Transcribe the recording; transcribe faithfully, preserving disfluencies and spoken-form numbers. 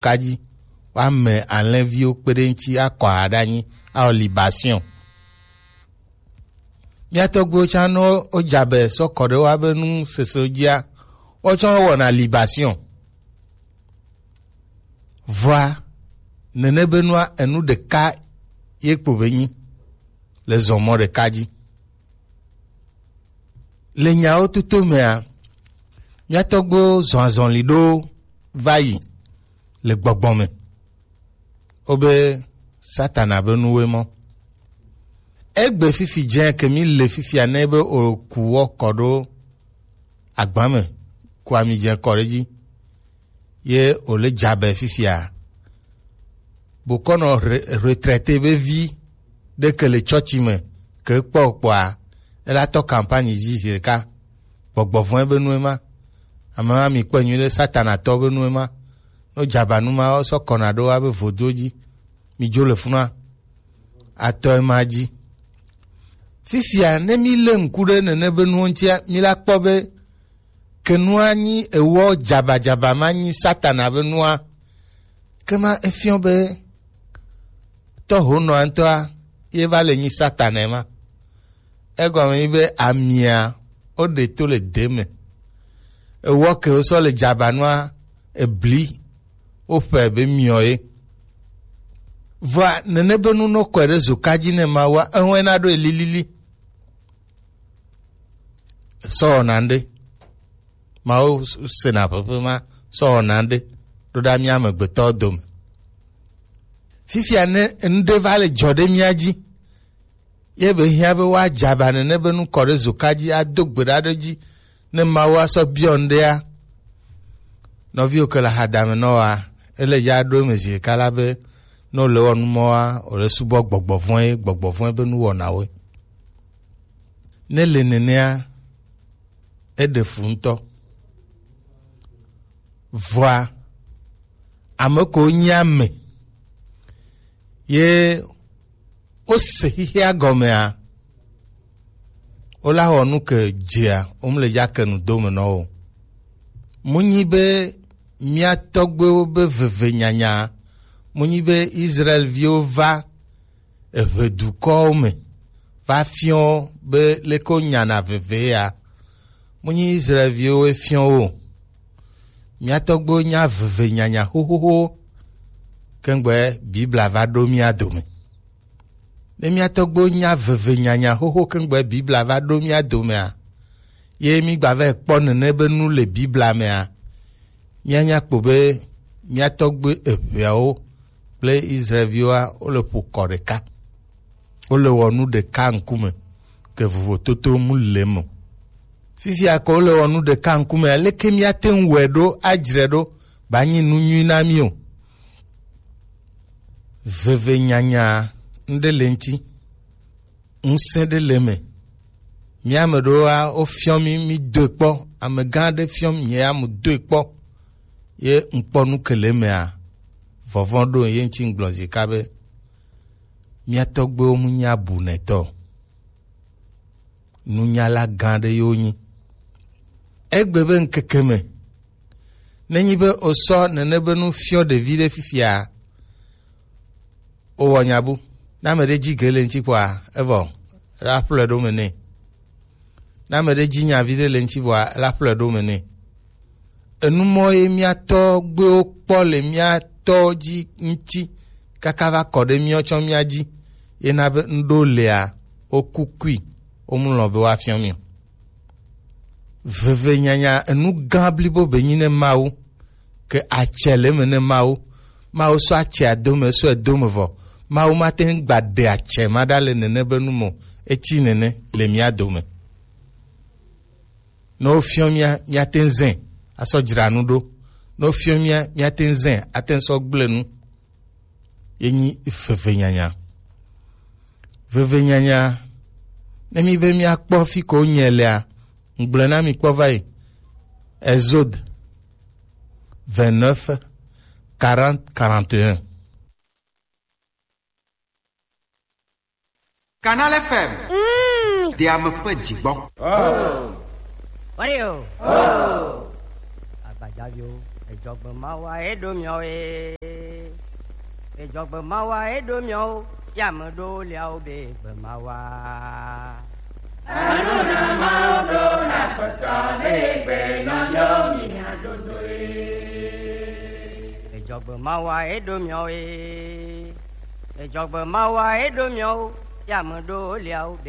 kaji, woame alẽviwo kpe ɖe ŋuti akɔ aha ɖe anyi, awɔ libation. Mía tɔgbuiwo tsã, ne wodze abe sɔ kɔ ɖe woabe nu sese dzia, woawo tsã wowɔna libation. Vɔa, nene be nua, enu ɖeka ye kpo be nyi le zɔmɔ ɖeka dzi. Le nyawo toto mea, mía tɔgbuiwo zɔ azɔli ɖo va yi le gbɔgbɔ me. Wobe Satana be nuwoe mɔ. Egbe fifi dze ke mi le fifia ne be oku wɔ kɔ ɖo agba me, ku ami dze kɔ ɖe dzi. Ye wòle dzabe fifia. Bokɔnɔ re-, retraité be vi ɖe ke le tsɔtsi me ke kpɔ kpɔa, ela tɔ campagne dzi zi ɖeka. Gbɔgbɔ vɔ̃e be nue ma. Ame ma mi kpɔe nyuie ɖe, Satana tɔ be nue ma. No dzabanu ma sɔ kɔna ɖo abe vodo dzi. Mi dzo le funua. Atɔ ema dzi. Fifia, ne mi le ŋku ɖe nene be nuwo ŋutia, mi la kpɔ be ke nua nyi ewɔ dzabadzaba ma nyi Satana be nua. Ke ma efiɔ be tɔhonɔa ŋutɔa ye va le nyi Satana ma. Egɔme nyi be amia woɖe to le de me. Ewɔ ke wosɔ le dzabanua ebli woƒe be miɔ ye. Vɔa nene be nu nɔ kɔe ɖe zoka dzi ne Mawua, ehɔe na ɖo elilili. Sɔ wɔna ŋɖe. Mawu s-, sena ƒeƒe ma sɔ wɔna ŋɖe ɖo ɖa mía amegbetɔwo dome. Fifia ne ŋɖe va le dzɔ ɖe mía dzi, ye be hiã be woadze aba nene be nu kɔ ɖe zoka dzi, ado gbe ɖa ɖe dzi, ne Mawu asɔ biɔ ŋɖea. Nɔviwo ke le hadame nɔ wa, ele ya ɖo eme zi ɖeka la be, ne wòle wɔ nu mɔa, wòle subɔ gbɔgbɔ vɔ̃e, gbɔgbɔ vɔ̃e be nuwɔnawoe. Ne le nenea, eɖe fu ŋutɔ. Vɔa, ame ko nyi ame ye wose xexea gɔmea, wola wɔ nu ke dzea, womle ya ke nu dome nɔ wo. Munyi be mía tɔgbuiwo be veve nyanya, munyi be Israel viwo va eʋe dukɔwo me va fiɔ be leke wonyana veve ya. Menyi Israel viwo fiɔ wo o. Mía tɔgbuiwo nya veve nyanya xoxoxo kengbe Biblia va ɖo mía dome. Ne mía tɔgbuiwo nya veve nyanya xoxo kengbe Biblia va ɖo mía domea, ye mí gba va kpɔ nene be nu le Biblia mea, míanya kpɔ be mía tɔgbe eʋeawo kple Israelviwoa, wole ƒo kɔ ɖeka. Wole wɔ nu ɖeka ŋkume, ke vovototo mu le me o. Fifia ke wole wɔ nu ɖeka ŋkume, aleke míate ŋu wɔe ɖo, adzre ɖo, ba nyi nu nyui na mí o. Veve nyanya ŋɖe le ŋuti. Ŋusẽ ɖe le eme. Mía ame ɖewoa, wofiɔ mí, mí doe kpɔ. Amegã aɖe fiɔ mí, nye ya mu doe kpɔ. Ye ŋkpɔ nu ke le emea, vɔvɔ̃ ɖo ye ŋuti ŋgblɔ zika be, mía tɔgbuiwo mu nyi abunɛtɔ o. Nunyala gã aɖe ye wonyi. Egbe be ŋkeke me, nenyi be wosɔ nene be nu fiɔ ɖevi ɖe fifia, wowɔ nya bu. Ne ame ɖe dzi ge le ŋuti kpɔa, evɔ, ela ƒle ɖo me nɛ. Ne ame ɖe dzi nya vi ɖe le ŋuti vɔa, ela ƒle ɖo me nɛ. Enu mɔ ye mía tɔgbuiwo kpɔ le mía tɔwo dzi ŋuti kaka va kɔ ɖe míawo tsɔ mía dzi. Ye na be ŋɖo lea, woku kui, womlɔ be woafiɔ mí o. Veve nyanya enu gã blibo be nyi ne Mawu, ke atsɛ le eme ne Mawu. Mawu sɔ atsɛa do me, sɔe do me vɔ. Mawu mate ŋu gba ɖe atsɛ ma ɖa le nene be nu me o. Eti nene le mía dome. Ne wofiɔ mía, míate ŋu zẽ asɔ dzra nu ɖo. Ne wofiɔ mía, míate ŋu zẽ ate ŋu sɔ gblẽ nu. Ye nyi veve nyanya. Veve nyanya, ne mí be míakpɔ fi ko nye lea, ŋgblẽ na mí kpɔ va yi. Exode vingt-neuf, quarante, quarante et un. Canal F M. Mm. Ɖe ame ƒe dzi gbɔ. Oh. What do you? Oh. Agbajaviwo. Ejɔgbe mawa eɖo miɔ e. Ejɔgbe mawa eɖo miɔ o. Yame ɖo liawo be gbe mawa. Ejɔgbe mawa eɖo miɔ e. Ejɔgbe mawa eɖo miɔ o. Yame ɖo liawo be